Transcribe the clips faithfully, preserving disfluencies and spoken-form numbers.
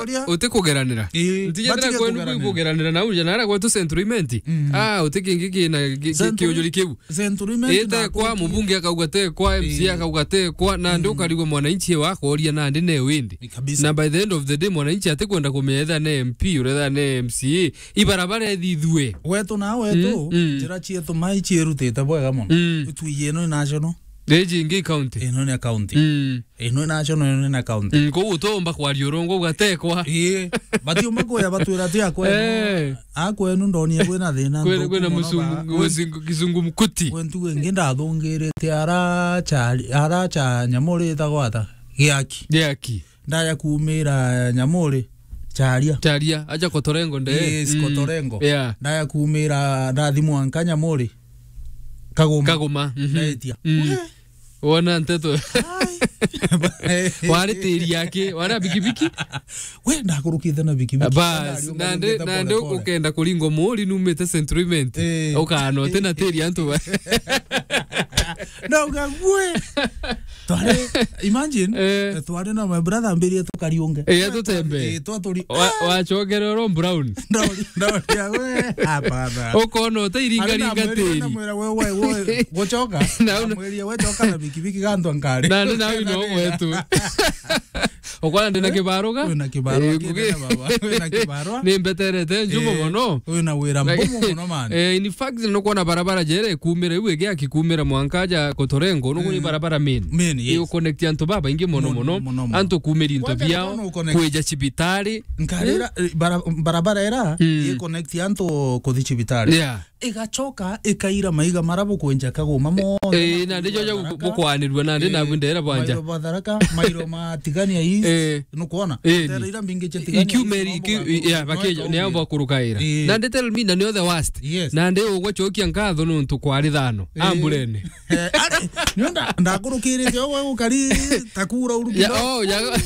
Uria uti kugeranira. Ii, ntijethira batige kwenu kugeranira. Kugeranira na uja nara gwetu Central Imenti. Mm. Ah, uti kingi kina ki-, ki-, Central, kiujuri kiu. Central Imenti ite na kwa Athũki. Mubunge akauga te kwa, M C A, ii, akauga te kwa, na ndi, mm, ukarigwa mwananchi wakoria nandi ne windi. Ii, kabisa. Na by the end of the day, mwananchi atikwenda kumenya etha ne M P, uretha ne M C A. Ibarabara ethithue. Wetu na wetu, mm, mm, njira cietu mai ciirutite bwega mono. Mm. Itwiji ino ni national. Riji ingi county. Ino ni county. Mm. Ino ni national, ino ni county. Mm, kou utomba kwaria urongo ugatekwa. Ii, batiumba kuya batwira ti akwenu. Eh. Akwenu ndonia kwina thina. Kwina, nthuku kwina muno musungu, ba-, musungu, kizungu mkuti. Kwe ntugo ingi ndathungirite ara chari, ara cha nyamuri itagwa ata? Giaki. Giaki. Ndaya kuumira nyamuri, charia. Charia, aja Kotorengo nde. Yes, mm, Kotorengo. Yeah. Ndaya kuumira ndathi mwanka nyamuri. Kaguma. Kaguma, mhm. Ndaitia. Mm. We. Wona nteto. Ai. Wari tiri yake, wari bikibiki. We, ndakurukite na bikibiki. Bas, ndari nande, nande pole pole. Ukenda kuringo muri numite Central Imenti. Eh. Ukana uti na tiri antu ba. Ndauga, gwe. Twari, imagine, eh, twari na my brother ambiririe tukariunge. Eh, tutembe. Eh, twaturi-, wa-, ah, wachokere oro brown. Ndori, ndori, we, hapana. Ukona utairinga ringa tiri. Namwira, we, we, we, guchoka. Na una- namwirie, we choka na bikibiki gantu ankari. Na ndi nawe no gwetu. Ukona ndina kibaruga? Wina kibarua. Eh, ngugi- kina baba. Wina kibarua. Ni mbeterete njumo mono. Eh, wina wira mbumo mono, man. Eh, in fact, nukwona barabara jere kumira iu igi akikumira mwanka ja Kotorengo, nukwona, mm, barabara main. Main, yes. Iu connect antu babaingi mono mono, mono, mono. Antu kumira into biao, kwija cibitari. Nkarira, eh, bara-, barabara era, mm, i connect antu kuthi cibitari. Yeah. Igachoka ikaira maiga mara bukwenja Kaguma monthe. Eh, na ndijo ja bukwanirua na ndi na bundera bwanja. Mairo batharaka, mairo matigania East. Eh. Nukwona? Eh, tera ira mbingi cha tigania ikiumeri, East, iki-, mambo ya, bakejo, no, ni abo bakurukaira. Eh. Na ndi tell me, na ni the worst. Yes. Na ndi ugwe chokia nkatho nuntu kwari thano. Eh. Amburene. Eh, ari, nio nda-, ndakurukirite ugwe gukari takura uru ya, kidogo. Oh, ya.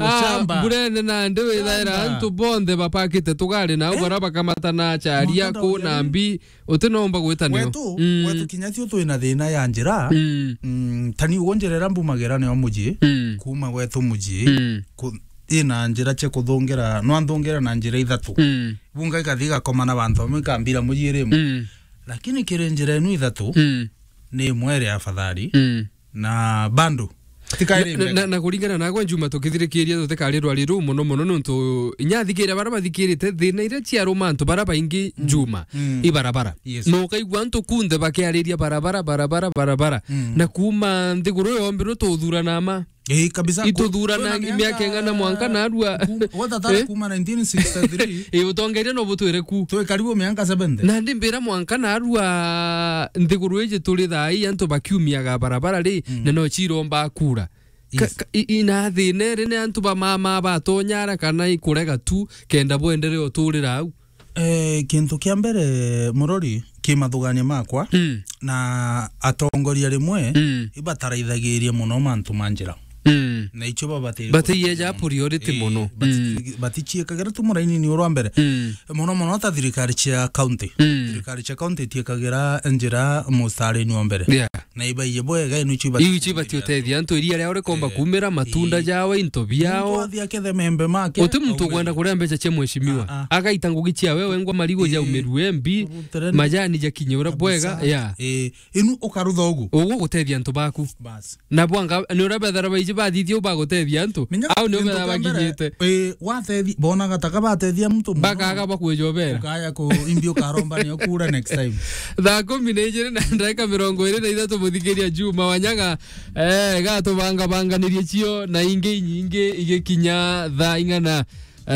Ah, shamba. Mburene na ndi withaira antu bonthe bapakite tugari na ugora bakamata na charia ku na mbi. Utinomba gwita nio. Wetu, mm, wetu kinya tio twina thina ya njira. Mm. Mm, tani ugo njira ira mbumagira nio muji. Mm. Kuma wetu muji. Mm. Ku-, ina njira cia kuthungira, nwa nthungira na njira ithatu. Mm. Bunga ikathi igakomana bantu bamwe ikambira muji iri imwe. Mm. Lakini kiri njira inu ithatu, mm, ni imwe iri afadhali. Mm. Na bando. Tikaire na, na, na kuringana nagwe Njuma, tukithirikiria tutikarirwa riru muno muno, nontu inya athikire bara bathikirite thina iria ciaruma antu bara baingi, mm, Njuma, mm, i barabara. Yes. Na ukaigua antu kunthe bakiariria barabara, barabara, barabara. Mm. Na kuma nthiguru yombirwe tuthurana ma. Eh, kabisa. Ituthurana miaka ing'ana mwanka narua. Watatara, eh? Kuma nineteen sixty-three. Eh, utongeria no butwire ku. Twi karibu miaka seventy. Na ndi mbira mwanka narua nthiguru iji turi thaa ii antu bakiumiaga barabara ri, mm, na no ciromba kura. Ka-, yes, ka-, i-, ina thina iri ni antu ba mama batonyara kana ikurega tu kenda bwendere uturira au. Eh, kintu kia mbere, Murori, ki mathugania makwa, mm, na atongoria rimwe, mm, ibataraithagiria muno mantu ma njira. Mm. Na icio babatiri. Bataiyeja priority, eh, muno. Bati-, mm, baticiekagira tu muraini ni urwa mbere. Mm. Muno muno ta thirikari cia county. Mm. Thirikari cia county itiekagira njira mustarini wa mbere. Yeah. Na ibaiye bwega, inu icio ibati-, iu icio ibati utethia antu iria ria urikomba, eh, kumira matunda, eh, jawe, into biao. Muntu athi akethe membe make, uti muntu ukwenda kuria mbeca cia mheshimiwa. Ah, ah. Agaita ngugi cia wewe ngwa marigo, eh, jaumirue mbi, majani jakinye uria bwega. Kabisa. Yeah. Eh, inu ukarutha ugu. Ugu gutethia antu baku. Bas. Na bwanga, ni uria bethara baiji bathithia u bagutethia antu. Au ni kintu bethara kia mbere, bakinyite. Eh, watethi-, bonaga taka batethia muntu muno. Bakaga bakwejobera. Ukaya ku imbi ukaromba ni ukura next time. Thaa kumi na ijiri na ndagika mirongo iri na ithatu, muthikiria Juma Wanyaga, eh, gatubanga banganirie cio na ingi inyingi igikinya thaa ing'ana.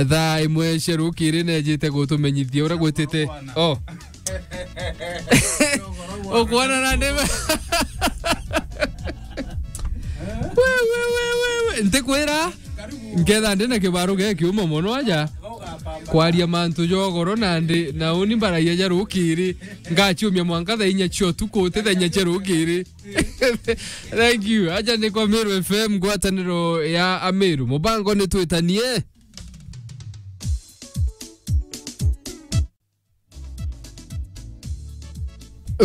Thaa imwe cia rukiri nejite gutumenyithia uria gwitite. Oh. Ukwona na ndima. We, we, we, we, we. Ntikwira, nketha ndi na kibaro gia kiuma mono aja kwaria mantu ja ugoro na ndi, na uni mbaragia ja rukiri. Ngaciumia mwanka thaa inya cia utuku, uti thaa inya cia rukiri. Thank you. Aja ni kwa Meru F M, ngwataniro ya Ameru. Mubango ni twitanie.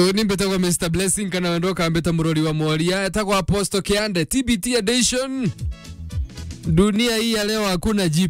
Uni mbitagwa Mister Blessing, kana wendo ukambita murori wa mworia. Etagwa Apostle Kiande, T B T edition. Dunia hii ya leo hakuna G P S.